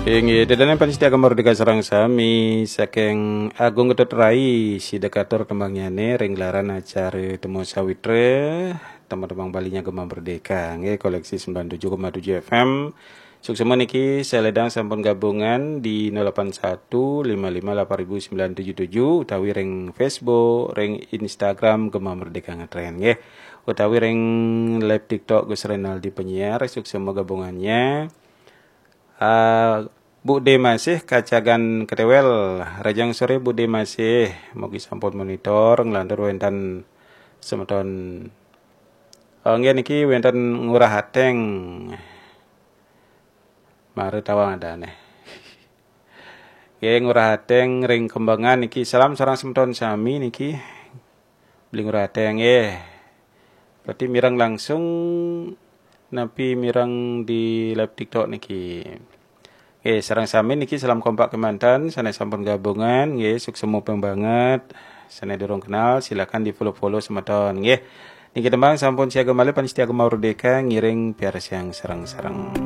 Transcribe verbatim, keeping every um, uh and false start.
Inggih, ida dané pamiarsa Gema Merdeka sareng sami, saking Agung Ketut Rai, sida katur tembangnyané ring gelaran acara Temu Sawitra, tembang-tembang Baliné Gema Merdeka, nggih, koleksi sembilan tujuh koma tujuh F M. Suksma niki saledang sampun gabungan di nol delapan satu lima lima delapan ribu sembilan tujuh tujuh utawi ring Facebook, ring Instagram Gema Merdeka Ngetren, nggih. Utawi ring live TikTok Gus Renaldi Penyiar, suksma gabungannya. Ah, Bu D Masih Kacagan Ketewel, rahajeng soré Bu D Masih, mugi sampun monitor nglantur wénten semeton. Oh, nggih niki wénten Ngurah Ateng. Mara tawang adané. Nggih, Ngurah Ateng ring Kembangan niki. Salam sareng semeton sami niki. Beli Ngurah Ateng nggih. Berarti mireng langsung napi mireng di live TikTok niki. Nggih, sareng sami niki salam kompak kémanten, sané sampun gabungan, nggih, suksma ping banget. Sané durung kenal, silakan di-follow-follow semeton, nggih. Niki tembang sampun siaga malih pamiarsa Gema Merdeka ngiring piarsayang sareng-sareng.